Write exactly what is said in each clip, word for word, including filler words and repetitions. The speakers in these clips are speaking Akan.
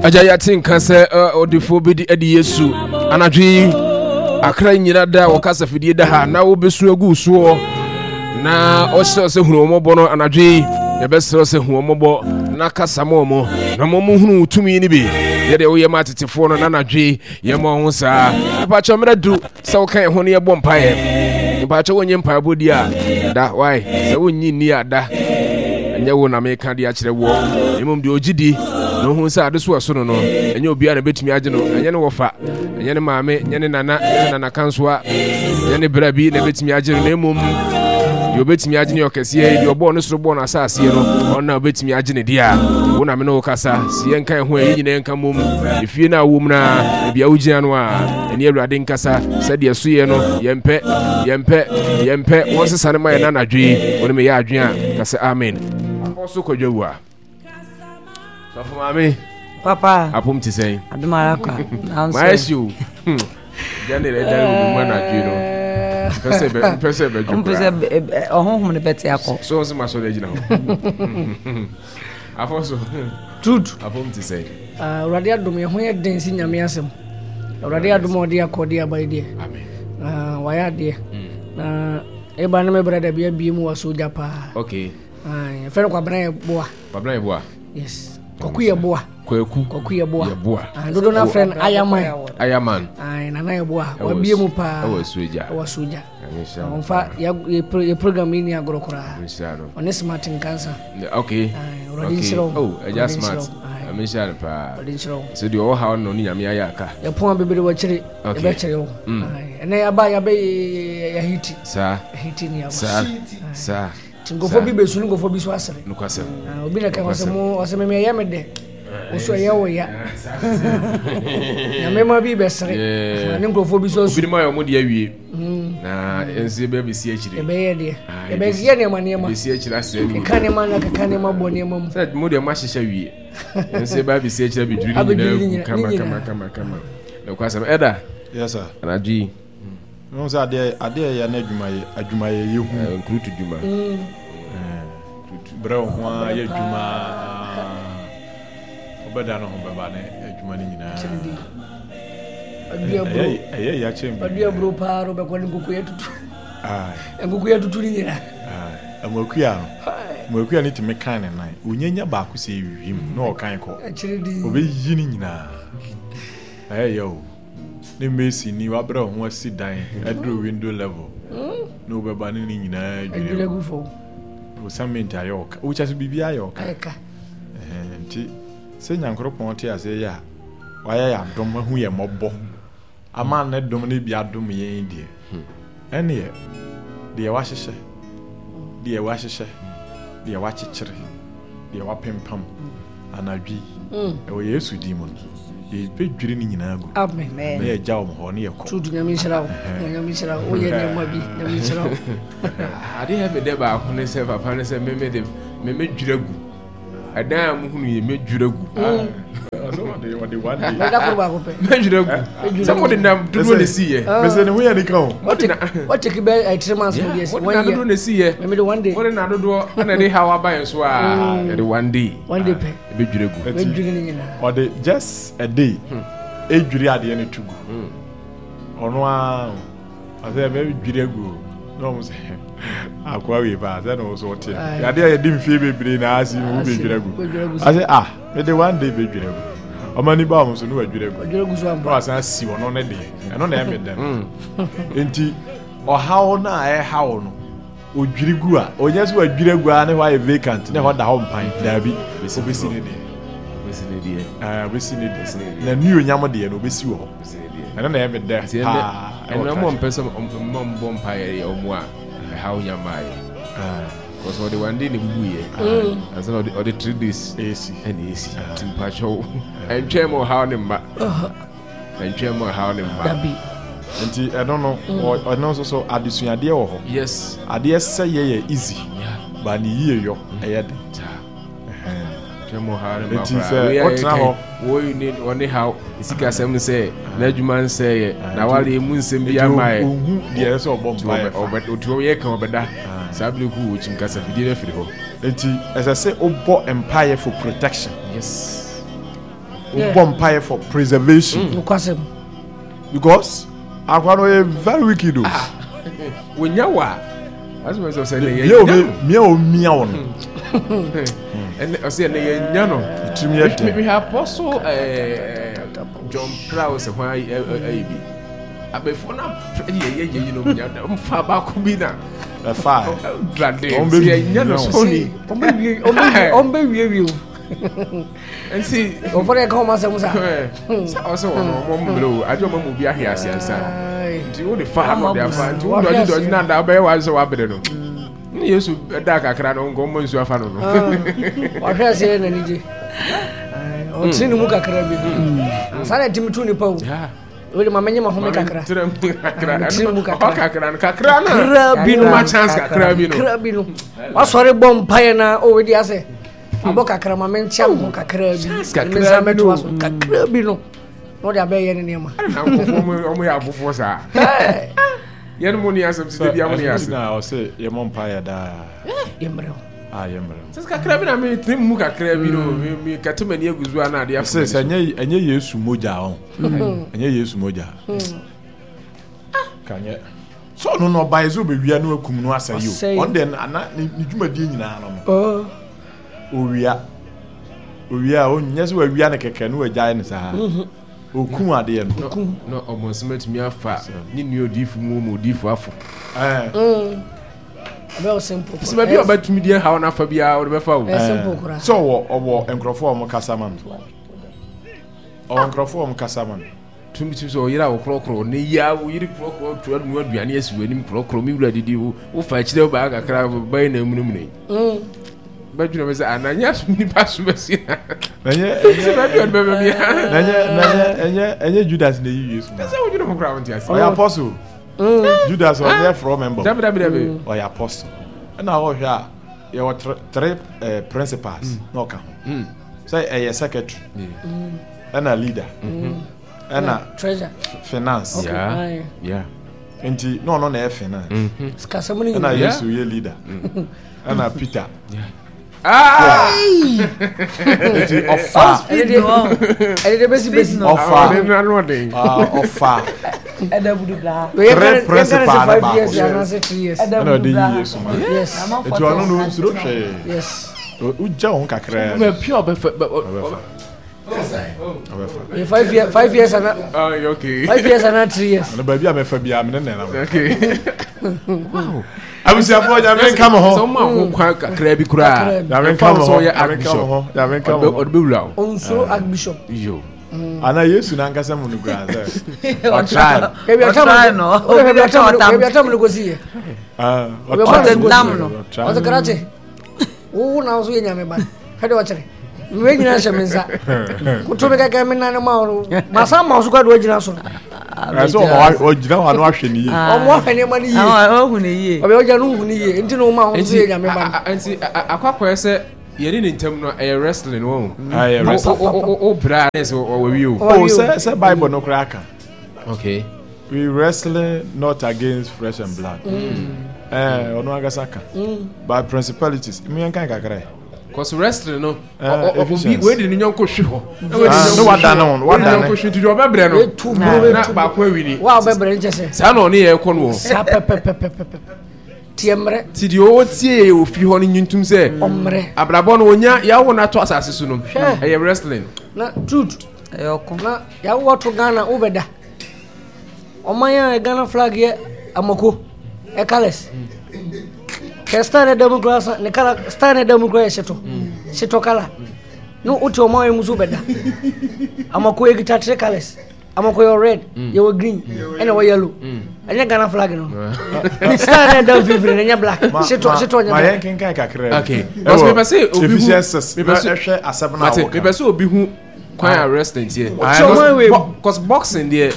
Agya, yɛate nka sɛ ɔdefoɔ bɛdi adi Yesu anadwo yi. Akra nyina da a wɔkasa fidie da ha na wobɛsu agu soɔ na ɔhyerɛ sɛ hunu wɔmmɔbɔ no anadwo yi. Yɛbɛserɛ sɛ hu wɔmmɔbɔ na kasa ma ɔmo na ma ɔmo hunu wo tumi no bi yɛdeɛ woyɛ ma atetefoɔ no na anadwo yi yɛma ho saa. Mepakyɛ, mmerɛ du sɛ woka yɛn ho no yɛbɔ mpaeɛ. Mepakyɛ, wonyɛ mpaebɔ di a da wae sɛ wonnyi nni a da ɛnyɛ wo na meka de akyerɛ woɔ, mmom deɛ ɔgye di na ɔhu sɛ ade so ɛso no no ɛnyɛ obiara na bɛtumi agye no, ɛnyɛ ne wɔfa, ɛnyɛ ne maame, ɛnyɛ ne nana, ɛnyɛ ne nana kansoa, ɛnyɛ ne bra bi na bɛtumi agye no, na mmom deɛ ɔbɛtumi agye ne ɔkɛseɛ, deɛ ɔbɔɔ ne soro bɔɔ no asaseɛ no, ɔno na ɔbɛtumi agye ne deɛ a wo na me ne wo kasa si yɛnka ɛho a yɛn nyinaa yɛnka mmom efie no a wɔ mu no a baabi a wogyina no a ɛne Awurade nkasa sɛdeɛ so yɛ no. Yɛmpɛ, yɛmpɛ, yɛmpɛ wɔn sesa no ma yɛn anadwo yi. Wɔn meyɛ adwene a ka sɛ amen. Akɔ so kɔdwa wu a sɔfo maame. Papa. Apom te sɛn? Adomara kwa. Mayɛ hye o gya ne ɛda wɔ mu anadwo yi no mpɛ sɛ mpɛ sɛ bɛdwo koraa mpɛ sɛ ɔhonhom no bɛte akɔ. So wɔn sɛ ma sɔrɔ agyina hɔ afɔ so. Truth. Apom te sɛn? Awurade adom, yɛn ho yɛ den si Nyame asɛm. Awurade adom a ɔde akɔ ɔde aba yi deɛ, wayɛ adeɛ na ɛba ne me brada bi abie mu wɔ so gya paa. Okay. Yɛfrɛ no Kwabena yɛ boa. Kwabena yɛ boa. Yes, Kwaku yɛ boa. Kwaku. Kwaku yɛ boa. Yɛ boa. Dodo na frɛ no Ayaman. Ayaman. Nana yɛ boa, wabie mu paa. Ɛwɔ Asuogya. Ɛwɔ Asuogya. Ɔmfa yɛ program yi ni agorɔ koraa. Ɔne Smart Nkansa. Okay. Awurade nhyira wo. Oh, ɛgya Smart. Ɛmi nhyira no paa. Awurade nhyira wo. Sɛ deɛ ɔwɔ ha no ne Nyame ayɛ aka. Yɛpɔn a bebree wɔ akyire. Yɛbɛkyerɛ wo. Ɛnɛ yɛaba yɛabɛ yɛahiti. Saa. Yɛahiti ni aba. Saa. Saa. Nti nkurɔfoɔ bi bɛsu ne nkurɔfoɔ bi so asere. Nokwasɛm. Obi na ka ɔsɛ mo ɔsɛ mɛmɛ ɛyɛ me dɛ. Woso ɛyɛ wo ya. Nyame ma bi bɛsere. Ne nkurɔfoɔ bi so asu. Obi ma yɛ ɔmo de awie. Na nso yɛbɛ bɛsi akyire. Yɛbɛyɛ deɛ. Yɛbɛyɛ nneɛma nneɛma. Bɛsi akyire asɛ ni. Keka nneɛma na keka nneɛma bɔ nneɛma mu. Sɛ mo deɛ mo ahyehyɛ wie. Nso yɛbɛ bɛsi akyire abɛdwiri ne nyinaa gu kama kama kama kama. Nokwasɛm ɛda. Yes sir. Anadwo yi. Mehu sɛ adeɛ adeɛ yɛ na adwuma yɛ adwuma yɛ yɛ hu. Nkurutu dwuma. Brɛ wo ho ara yɛ adwuma, wobɛda no ho bɛba ne adwuma no nyinaa. Ɛyɛ yɛ akyɛ mbi. Ɔde aburo paa no bɛkɔ ne nkuku yɛ tutu. Nkuku yɛ tutu ne nyinaa. Amoakua no, Amoakua no tumi kan ne nan. Onyanya baako sɛ ewiem na ɔkan kɔ. Ɔbɛyi ne nyinaa. Ɛyɛ yɛ o. Ne mason ni wabrɛ wo ho asi dan aduru window level na wobɛba ne ne nyinaa dwiri agu fam. Wo cement ayɛ ɔka, wokyɛ so biribi ayɛ ɔka. Nti sɛ Nyankoropɔn te aseɛ yɛ a wayɛ yɛ adom ahu yɛ mmɔbɔ ama ne dom no bi adom yɛn deɛ, ɛneɛ deɛ wahyehyɛ, deɛ wahyehyɛ, deɛ wakyekyere, deɛ wapempam anadwo yi ɛwɔ Yesu din mu no, yɛbɛdwiri ne nyinaa gu. Amen. Na yɛgya wɔn hɔ ne yɛkɔ. Truth, Nyame nhyira wo. Nyame nhyira wo. Woyɛ nneɛma bi. Nyame nhyira wo. Ade yɛ me dɛ baako ne sɛ papa ne sɛ meme de meme dwira gu. Ɛdan a muhunu yɛ medwira gu. Mɛda koro baako pɛ. Medwira gu. Sɛ mo de na dodoɔ na esi yɛ. Mese ne ho yɛ nika o. What take bɛ eh, three months mo deɛ. Mo de na dodoɔ na esi yɛ. Meme de one day. Mo de na dodoɔ ɛna de haw aba yɛn so a. Yɛde one day. One day pɛ. Ebedwira gu. Ebedwira ne nyinaa. Ɔde just a day. Edwiri adeɛ no to gu. Ɔno ara ɔsɛ ɛbɛdwiri agu na ɔmo sɛ akoa wei paa sɛ na ɔso ɔte adeɛ a yɛde mfie bebree na asi mu bɛdwiri agu ɔsɛ ah, mede one day bɛdwiri agu. Ɔmo ani ba ɔmo so ne wadwiri agu na wasan asi ɔno ne deɛ. Ɛno na ɛmɛ dɛm nti ɔhaw no a ɛhaw no odwiri gu a ɔnyɛ sɛ wadwiri agu a ne hɔ ayɛ vacant ne hɔ da hɔ mpan. Daabi, obɛsi ne deɛ, ɛɛ obɛsi ne deɛ na new onyam deɛ no obɛsi wɔ hɔ. Ɛno na ɛmɛ dɛ paa. Ɛno ɔmo mpɛ sɛ ɔmo mbɔ mpa yɛ ɔmo a ɛhaw nya maa yɛ kɔsɔ ɔde one day na ebubu yɛ ansa na ɔde ɔde three days esi ɛna esi. Ti mpakyɛw, ɛntwɛn mu ɔhaw ne mma, ɛntwɛn mu ɔhaw ne mma. Dabi. Nti ɛno no ɔno nso so adesuadeɛ wɔ hɔ. Yes. Adeɛ sɛ yɛ yɛ easy ba ne yie yɔ ɛyɛ den. Twɛn mu ɔhaw ne mma. Nti sɛ wotena hɔ wɔyi ne ɔne haw sikasɛm sɛ n'adwuma nsɛ yɛ na wale emu nsɛm bi ama yɛ. Ohu deɛ ɛsɛ ɔbɔ mpa yɛ fa. Otu yɛ kan ɔbɛda saa bere ku wɔ kyim kasa fidie no afiri hɔ. Nti ɛsɛ sɛ wobɔ mpaeɛ for protection. Yes. Wobɔ mpaeɛ for preservation. Nokwasɛm. Because akwa no yɛ very wicked o. Wonya wa. Asoma sɛ sɛ ne yɛ. Mia o mia o mia o no. Ɛnɛ ɔsɛ ɛnɛ yɛ nya no. Tirim yɛ den. Me hwɛ apostle ɛɛ John Prowse ho ayi bi. Abɛfo na yɛ yɛ yɛ yi no nya mfa baako bi na. Ɛfa. Drade. Sɛ yɛ nya no so ni. Ɔmbɛ wie ɔmbɛ ɔmbɛ wie wie o. Nti ɔfɔ de ka ɔmo asɛm sa. Sɛ ɔsɛ wɔn ɔmo mmerɛ o agye ɔmo mu bi ahwe ase ansa. Nti wo de fa ha na ɔde afa nti wo dɔgye dɔgye na da ɔbɛyɛ wa sɛ wabere no. Ne Yesu da kakra no nkɔ ɔmo nsuo afa no no. Wahwɛ ase yɛ n'ani gye. Ɔtene ne mu kakra bi. Saa na ɛtumi tu nipa o. Wei de ma menye ma home kakra. Tene mu kakra. Tene mu kakra. Ɔhɔ kakra no kakra no. Kakra bi no. Ma chance kakra bi no. Kakra bi no. Wasɔre bɔ mpaeɛ na o wei de asɛ. Abɔ kakra ma menkyɛ me ho kakra bi. Kakra Mensa bi mɛtoa no. so kakra bi no. Na ɔde abɛyɛ ne nneɛma. Na nkɔfoɔ ɔmo ɔmo yɛ abofoɔ saa. Yɛn mo ni asɛm ti de bi amo ni asɛm. Na ɔsɛ yɛ mɔ mpaeɛ daa. Yɛmmerɛ ho. A yɛ mmerɛ. Sɛ kakra bi na mi tene mu kakra bi no mi mi kɛtɛ m'ani agu so a na adeɛ Sɛ sɛ ɛnyɛ ɛnyɛ Yesu mogya ɔn. Ɛnyɛ Yesu mogya. Kanyɛ. Sɛ ɔno na ɔbaeɛ sɛ ɔbɛwia no akum no asɛe o. Ɔno deɛ ana ne ne dwumadie nyinaa no no. Owia. Owia a ɔnyɛ sɛ wawia no kɛkɛ no wagyae no saa. Okum adeɛ no. Na ɔmo nsɛm atumi afa ne nua odiifo mu mu odiifo afo. Ɛɛ. Ɛbɛyɛ simple. Sɛ baabi a ɔbɛtumi deɛ haw n'afa biara ɔde bɛfa o. Ɛyɛ simple koraa. Sɛ ɔwɔ ɔwɔ nkurɔfoɔ a wɔn kasa ma no. Ɔwɔ nkurɔfoɔ a wɔn kasa ma no. Tumi tumi sɛ ɔyere a wɔkorɔkorɔ ne yia ɔyere korɔkorɔ tu anu aduane asi wɔ anim korɔkorɔ mi wura didi wo wofa akyire baa kakra bɛyɛ na emunimuni yi. Bɛdwene bɛ sɛ ananyɛ asom nipa so bɛsi na. Ɛnyɛ Sɛ baabi a ɔde bɛbɛ bia. ɛnyɛ ɛnyɛ ɛnyɛ ɛnyɛ Judas na eyi Yesu. Sɛ wodwene ho koraa wonte ase. Ɔyɛ apostle. Judas ɔnyɛ frɔ member. Dabi dabi dabi. Ɔyɛ apostle. Ɛna ɔhwɛ a yɛwɔ three eh, principals na ɔka ho. Sɛ ɛyɛ secretary. Ɛna leader. Ɛna treasure. Finance. Yeah. Yeah. Nti na ɔno na ɛyɛ finance. Sikasɛm no Ɛna nyinaa. Yesu yɛ leader. Ɛna Peter. Ah! Nti ɔfa Ɛde de ɛde de bɛsi bɛsi. ɔfa Ɔde no ano ɔden. ah, ɔfa Wei yɛn Three ka ne principal sɛ ne five baako. years anaasɛ three years. Ɛna ɔde yi Yesu ma. Yes. Nti ɔno no nsuro hwee. Yes. Wogya wo ho kakraa bi. Bɛ pia ɔbɛfa bɛ ɔ Ɔbɛfa. Ɔbɛfa. Yɛ five years five years ana Oh, okay. five years ana three years. Ɔno baabi a mɛfa biara me ne ne nam. Okay. Wow. Abusuafoɔ Nyame nka mo Sɛ ho. ɔmo aho kwan kakra bi koraa. Nyame nka mo ho. Nyame nka mo ho. Nyame nka mo ho. Ɔde bɛwura wo. Onsuro archbishop. Yo. Ana Yesu n'ankasa mu no koraa sɛ ɔtry no. Ebi atam Ɔtry no. Ebi atam ebi atam no kosi yɛ. Ah, Ebi ɔtry atam no no. kosi Ɔtentam no. Ɔtry Ɔsɛ krakye. Wo na nso yɛ nyame ba. Hwɛ de ɔkyerɛ. Mwe nyinaa hyɛ me nsa. Koto me kɛkɛ me nane ma wo. Masa ma wo so kora de wagyina so no. Ɛsɛ ɔma ɔgyina hɔ ano ahwɛ ne yie. Ɔmo ahwɛ nneɛma no yie. Ɔhu ne yie. Ɔbɛ ɔgya no hu ne yie. Nti na wo ma wo nso yɛ nyame ba no. Nti akɔ akɔyɛ sɛ yɛne ne ntam no ɛyɛ wrestling wɔn. Ɛyɛ wrestling. O o o bra ne sɛ ɔwɔ wi o. Oh, sɛ sɛ Bible no koraa ka. Okay. We wrestling not against flesh and blood. Ɛɛ ɔno ankasa ka. But principalities mu yɛn kan kakra yi. Cause wrestling no Eh, ɔ- ɔ- obi Ephesians. wei de ne nyɔnko hwe hɔ. Na wei de Ah, ne ne nyɔnko wadane hwe hɔ. ho, Wei de ne wadane. nyɔnko hwe nti deɛ ɔbɛbrɛ no. Etu buro Na etu. baako awi ni. Wa ɔbɛbrɛ nkyɛ sɛ. Saa na ɔne yɛ kɔ no wɔ. Saa pɛpɛpɛpɛpɛ. Tiɛ mmerɛ. Ti deɛ ɔtie yɛ wɔ fie hɔ no nyintum sɛ Ɔmmerɛ. abrabɔ no onya yawo no ato asase so no Hwɛ. ɛyɛ wrestling. Na truth. Ɛyɛ ɔko. Na yawo ato Ghana wobɛda. Ɔman a Ghana flag yɛ amako. Ɛ colours. Kɛ star ne da mu koraa sa ne colour star ne da mu koraa yɛ hyetɔ. Hyetɔ colour. No wote ɔman yi mu so wobɛda. Amako ekita three colours. Amako yɛ red, yɛwɔ green, ɛna ɛwɔ yellow. Ɛnyɛ Ghana flag no. Star ne da mfimfini no ɛnyɛ black. Ma Hyetɔ ma hyetɔ nyɛ ma black. yɛn kenkan kakra bi. Okay. Because Ɛwɔ mepɛ sɛ obi hu Ephesians six mepɛ na sɛ ɛhwɛ asɛm no a mate wɔka. mepɛ sɛ obi hu kwan a wrestling teɛ. Ah, ɔman wei mu. Cause boxing deɛ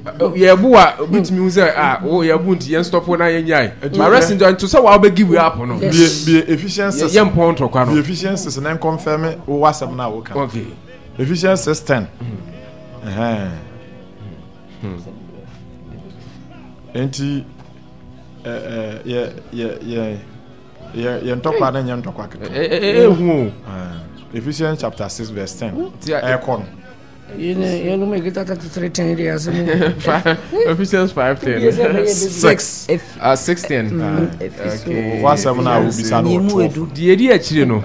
yɛbu a obi tumi hu sɛ ah wo yɛbu nti yɛn stop na yɛn nyae. But wrestling deɛ nto sɛ wa wobɛ give up no. Yes. Bie bie Ephesians six. Yɛ mpɔn ntɔkwa Bie no. Ephesians six na nkɔnfɛm wo asɛm no a wɔka. Okay. Ephesians six ten. Ɛhɛn. Nti ɛ ɛ yɛ yɛ yɛ yɛ yɛ ntɔkwa no nyɛ ntɔkwa ketewa. Ɛ ɛ ehu o. Ah, Ephesians chapter six verse ten. Ti a- Ɛkɔ no. Yɛnom ɛkita thirty-three ten deɛ asɛm. Ephesians five ten. Six. Ah, six ten. Okay. Wasɛm no a wobisa no wɔ twelve. Deɛ ɛdi akyire no,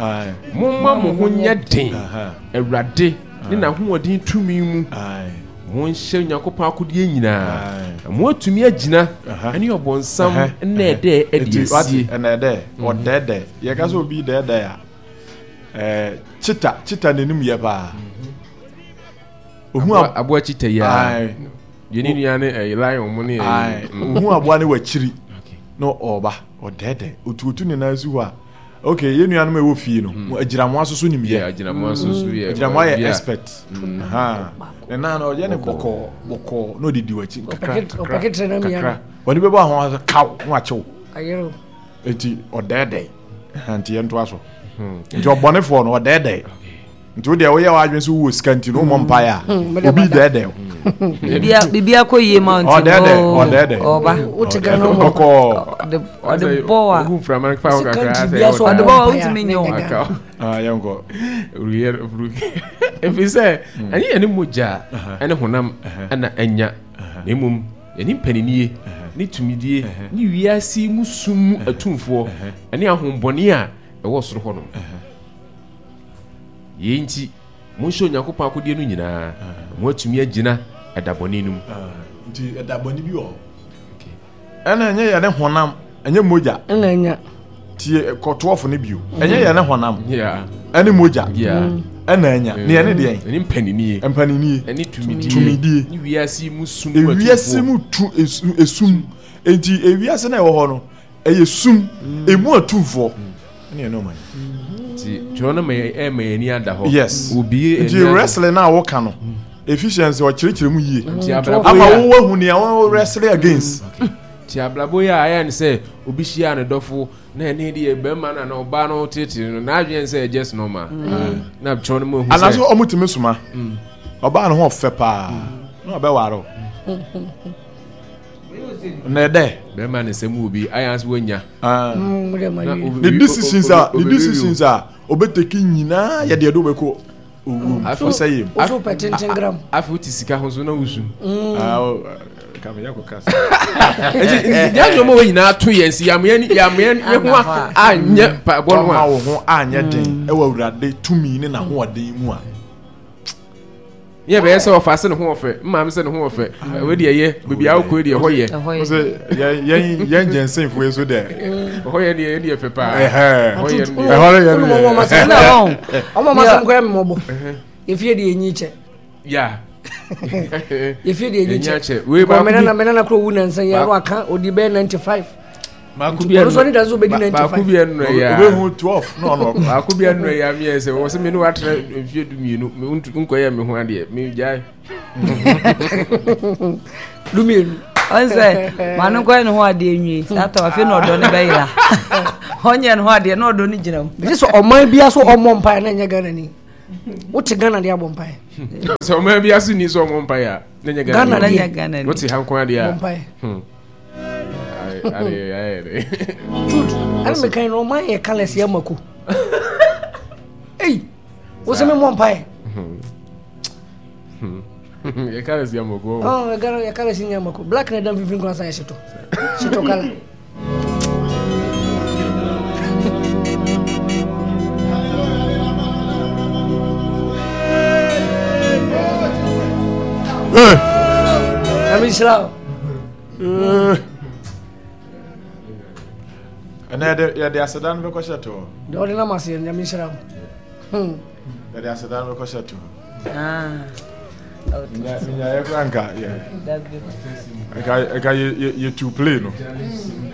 momma mo ho nyɛ den Awurade ne n'ahoɔden tumi mu. Monhyɛ Onyankopɔn akodeɛ nyinaa na moatumi agyina ne ɔbɔnsam nnɛɛdɛɛ adi asie. Ɛnɛɛdɛɛ, ɔdɛɛdɛɛ. Yɛka sɛ obi dɛɛdɛɛ a, ɛɛ kyita kyita n'anim yɛ paa. Ohun aboa kyita yi a. Deɛ ne nua ne ɛyɛ lion mo ne ɛyɛ. Ohun aboa ne wakyiri na ɔba ɔdɛɛdɛɛ otuotu ne nan si hɔ a. Okay, yɛn nuanom a ɛwɔ fie no, mm. agyinamoa soso nim yɛ. Agyinamoa soso yɛ. Agyinamoa yɛ expert. Mm. Ne nan no ɔyɛ ne bɔkɔɔ bɔkɔɔ na ɔde di w'akyi kakra kakra kakra. Wɔde bɛbɔ ahoa kaw na wakyew. Eti ɔdɛɛdɛɛ. Nti yɛn to aso. Hmm. Nti ɔbɔnefoɔ no ɔdɛɛdɛɛ. Nti wo deɛ woyɛ w'adwene sɛ wowɔ sika nti no wommɔ mpaeɛ a hmm, obi dɛɛdɛɛ wo. Biribi akɔ yie ma nti ɔdɛɛdɛɛ ɔdɛɛdɛɛ ɔba bɔkɔɔ ɔde bɔ wa ɔde bɔ wa wotumi nyɛ wo. Yɛnkɔ ɛfiri sɛ ɛnyɛ yɛne mogya ɛne honam ɛna ɛnya na mmom yɛne mpaninie ne tumidie ne wiase mu sum mu atumfoɔ ɛne ahombɔne a ɛwɔ soro hɔ nom. Yei nti, monhyɛ Onyankopɔn akodeɛ no nyinaa, na moatumi agyina ɛda bɔne no mu. Nti ɛda bɔne bi wɔ hɔ. Ɛna ɛnyɛ yɛne honam, ɛnyɛ mogya. Ɛna ɛnya. Tie kɔtoɔfo no bio. Ɛnyɛ yɛne honam. Ɛne mogya. Ɛna ɛnya. Ne yɛne deɛn? Ɛne mpaninie. Mpaninie. Ɛne tumidie. Tumidie. Ne wiase mu sum mu atumfoɔ. Ewiase mu tu esum. Enti ewiase na ɛwɔ hɔ no, ɛyɛ sum. Emu atumfoɔ. Ɛne ɛne ɔman. Nti twerɛ no ma ɛma yɛn ani ada hɔ. Yes. Obi nti wrestling na woka no. Ephesians ɔkyerɛkyerɛ mu yie. Nti abrabɔ ama wo wahu nea wo wrestle against. Nti abrabɔ yi a ayɛ ne sɛ obi hyia ne dɔfo na ɛne deɛ bɛrima no na ɔbaa no tete no n'adwene sɛ just normal. Na twerɛ no mu ehu sɛ. Anaso ɔmo tumi soma. Ɔbaa no ho ɔfɛ paa na ɔbɛware o. Na ɛdɛ. Bɛrima ne nsɛm wɔ bi ayɛ ase wanya. Ne decisions a ne decisions a ɔbɛteki nyinaa yɛ deɛ de wobɛkɔ owuo mu ɔsɛ yɛ mu. Woso pɛ tenten gram. Afei wote sika ho so na wosu. Kameyɛ kɔ kasa. Nti nti nyɛ nneɛma wɔ nyinaa to yɛn si yameɛ yameɛ ne ho anyɛ mpaebɔ no a. Ɔma wo ho anyɛ den ɛwɔ Awurade tumi ne n'ahoɔden mu a. Yɛ bɛyɛ sɛ ɔfa se ne ho ɔfɛ mmaame sɛ ne ho ɔfɛ ɛwɛ deɛ yɛ beebi a wokɔ deɛ ɛhɔ yɛ. Yɛn yɛn yɛn gyɛnsenfo yi so dɛ. Ɛhɔ yɛ deɛ deɛ fɛ paa. Ɛhɔ yɛ deɛ. Ɛhɔ yɛ deɛ. Ɔmo ɔmo asɛm kɔ yɛ mmɔbɔ. Efie deɛ enyi kyɛ. Ya. Efie deɛ enyi kyɛ. Wei baako bi. Mɛ nana kuro wu nansa yi ano aka odi bɛyɛ ninety five. Baako bi ɛnu baako bi ɛnu ya. Obehu twelve na ɔno ɔkɔ. Baako bi ɛnu ya mi yɛ sɛ wɔsɛ mi ni wa tena mfie du mienu mi nkɔ yɛ mi ho adeɛ mi gya. Du mienu. Ɔn sɛ maa no nkɔyɛ ne ho adeɛ nwie saa tɔ afei na ɔdɔ ne bɛyera ɔnyɛ ne ho adeɛ na ɔdɔ ne gyina mu. Ɛsɛ sɛ ɔman bi aso ɔmmɔ mpaeɛ na ɛnyɛ Ghana ni. Wote Ghana deɛ abɔ mpaeɛ. Sɛ ɔman bi aso ni sɛ ɔmmɔ mpaeɛ a na ɛnyɛ Ghana deɛ. Wote ha nko adeɛ a. Truth. Ɛna mekan no ɔman yɛ colours yɛ mako. Ei, wo sɛ memmɔ mpaeɛ. Yɛ colours yɛ mako. Oh, yɛ colours yɛ mako. Black na ɛda mfimfini kwan sa yɛ hyetɔ. Hyetɔ colour. Nyame nhyira wo. Ɛnna yɛde yɛde aseda no bɛkɔ hyɛ to hɔ. Deɛ ɔde nam aseɛ Nyame nhyira wo. Hmm. Yɛde aseda no bɛkɔ hyɛ to hɔ. Nyaeɛ kora nka yɛ nka nka yɛ yɛ yɛ tu play no.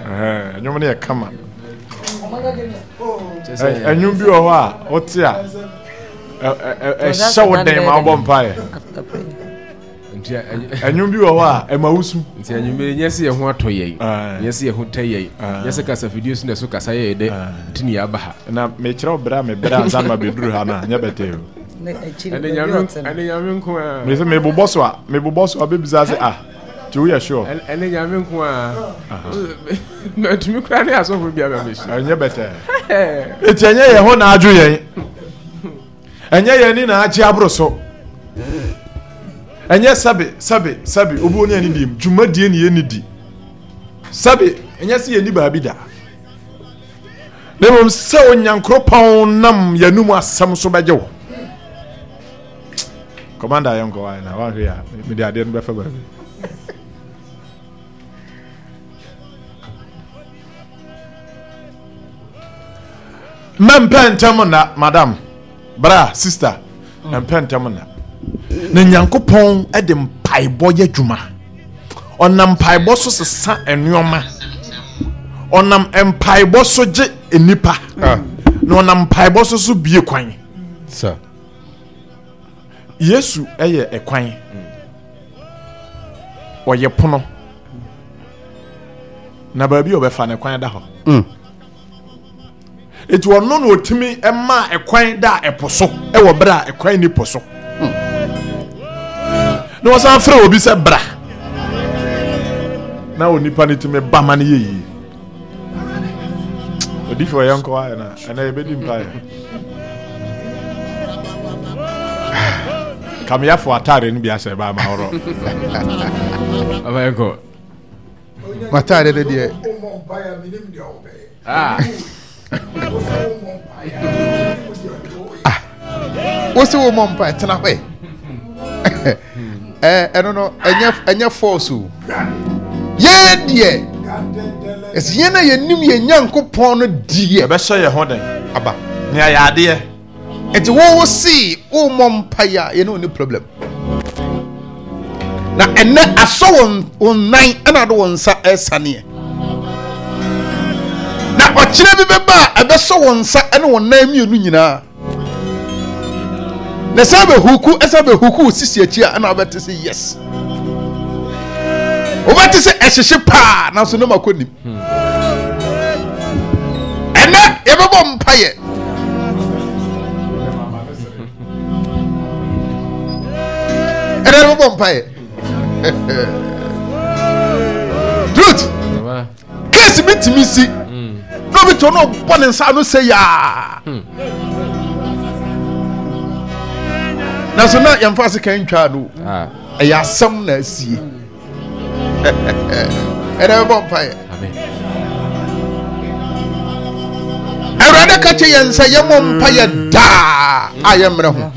Ɛnwom no yɛ kama. Ɛnwom bi wɔ hɔ a wote a ɛhyɛ wo den ma wobɔ mpaeɛ. Ɛnwom bi wɔ hɔ a ɛma wo su. Nti anwummere nyɛ sɛ yɛn ho atɔ yɛn, nyɛ sɛ yɛn ho tɛ yɛn, nyɛ sɛ kasafidie so na ɛso kasa yɛ dɛ nti ne yɛaba ha. Na mekyerɛ wo berɛ a mebrɛ ansa na mabɛduru ha no a, nyɛ bɛtɛɛ o. Ɛne Nyame ɛne Nyame nko a. Mese mebobɔ so a, mebobɔ so a bɛbisa sɛ ah, nti woyɛ sure? Ɛne Nyame nko a. Matumi koraa ne asɔfo bi aba bɛhyia. Ɛnyɛ bɛtɛɛ. Enti ɛnyɛ yɛn ho na adwo yɛn. Ɛnyɛ yɛn ani na agye aboro so. Ɛnyɛ sɛbe sɛbe sɛbe obi oni ani dim dwumadie ne yɛni di. Sɛbe ɛnyɛ sɛ yɛni baabi da. Na mmom sɛ Onyankoropɔn nam yɛnum asɛm so bɛgye wo. Commander yɛnkɔ wa na wanhwɛ a mede adeɛ no bɛfa baabi. Mɛmpɛ ntɛm nna, madam, bra, sister, mpɛ ntɛm nna. Na Nyankopɔn de mpaebɔ yɛ adwuma. Ɔnam mpaebɔ so sesa nneɛma. Ɔnam mpaebɔ so gye nnipa. Ah. Na ɔnam mpaebɔ so so bie kwan. Sir. Yesu yɛ ɛkwan. Ɔyɛ pono. Na baabi a ɔbɛfa no kwan da hɔ. Mm. Eti ɔno na ɔtumi ma ɛkwan da ɛpo so ɛwɔ berɛ a ɛkwan ni po so. Mm. Na ɔsan frɛ obi sɛ bra. Na onipa no tumi ba ma no yɛ yie. Odifo yɛn nkɔ ayɛ na ɛnɛ yɛbɛdi mpaeɛ. Kameyafo ataare no bi ahyɛ ba ama horɔ. Aba yɛn kɔ. M'ataare no deɛ. Ah. Ah. Wosi wo mɔ mpa tena hɔ ɛ. Ɛno no ɛnyɛ ɛnyɛ force o. Yɛn deɛ ɛsɛ yɛn a yɛnim yɛn Nyankopɔn no deɛ. Ɛbɛhyɛ yɛn ho den. Aba. Nea yɛ adeɛ. Nti wo wo see wo mɔ mpa yi a yɛne wo ni problem. Na ɛnɛ asɔ wɔn wɔn nan ɛna ade wɔn nsa ɛsaneɛ. Na ɔkyerɛ bi bɛba a ɛbɛsɔ wɔn nsa ɛne wɔn nan mmienu nyinaa. Na sɛ bɛhuku ɛsɛ bɛhuku wo sisi akyi a ɛna wobɛte sɛ yes. Wobɛte sɛ ɛhyehye paa nanso ne makɔ nim. Ɛnɛ yɛbɛbɔ mpayɛ. Ɛnɛ yɛbɛbɔ mpayɛ. Truth. Case bi tumi si. Na obi to no bɔ ne nsa ano sɛ yaa. Nanso na yɛmfa ase kan ntwaa no. Ɛyɛ asɛm na asie. Ɛnɛ bɛbɔ mpaeɛ. Awurade ka kyerɛ yɛn sɛ yɛmmɔ mpaeɛ daa a yɛmmerɛ ho.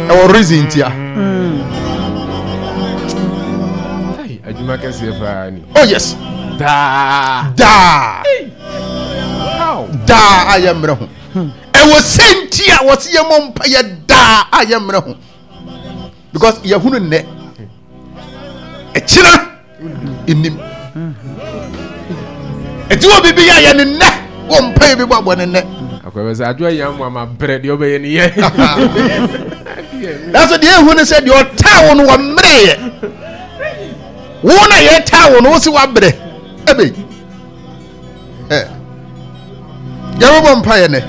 Ɛwɔ reason ntia. Adwuma kɛseɛ paa ni. Oh yes. Daa. Daa. Daa a yɛmmerɛ ho. Ɛwɔ sɛ nti a wɔsi yɛmmɔ mpaeɛ daa a yɛmmerɛ ho. Because yɛhunu nnɛ. Ɛkyina nnim. Ɛti wɔ biribi yɛ yɛ ne nnɛ wɔ mpaeɛ bi bɔ abɔ ne nnɛ. Akɔbɛ sɛ adwo ayɛ amu ama brɛ deɛ ɔbɛyɛ ne yɛ. Nanso deɛ ehu ne sɛ deɛ ɔtaa wo no wɔmmerɛ yɛ. Wo na yɛtaa wo no wo si wabrɛ. Ebe. Ɛ. Yɛbɛbɔ mpaeɛ nɛ.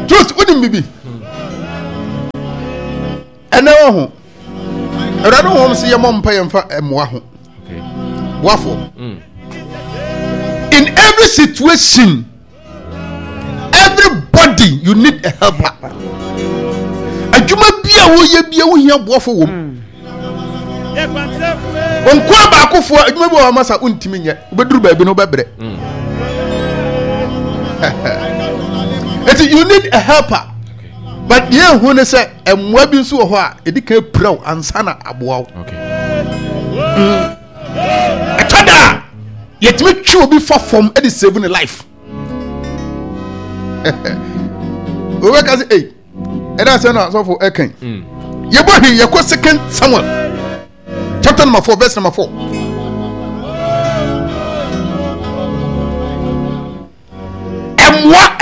Truth, wonim bibi. Ɛnɛ wɔ ho. Awurade honhom sɛ yɛmmɔ mpa yɛmfa mmoa ho. Boafoɔ. Mm. In every situation, everybody you need a helper. Adwuma bi a woyɛ bi a wohia boafo wɔ mu. Nkoa baakofoɔ adwuma bi wɔ hɔ ama sa wontumi nyɛ. Wobɛduru baabi no wobɛbrɛ. Eti you need a helper. But deɛ ehu ne sɛ mmoa bi nso wɔ hɔ a edi kan pira wo ansa na aboa wo. Mm. Ɛtɔ da a yɛtumi twe obi fa fam de save ne life. Wobɛka sɛ ei ɛda sɛ na asɔfo ɛkan. Mm. Yɛbɔ hwee yɛkɔ second Samuel chapter number four verse number four.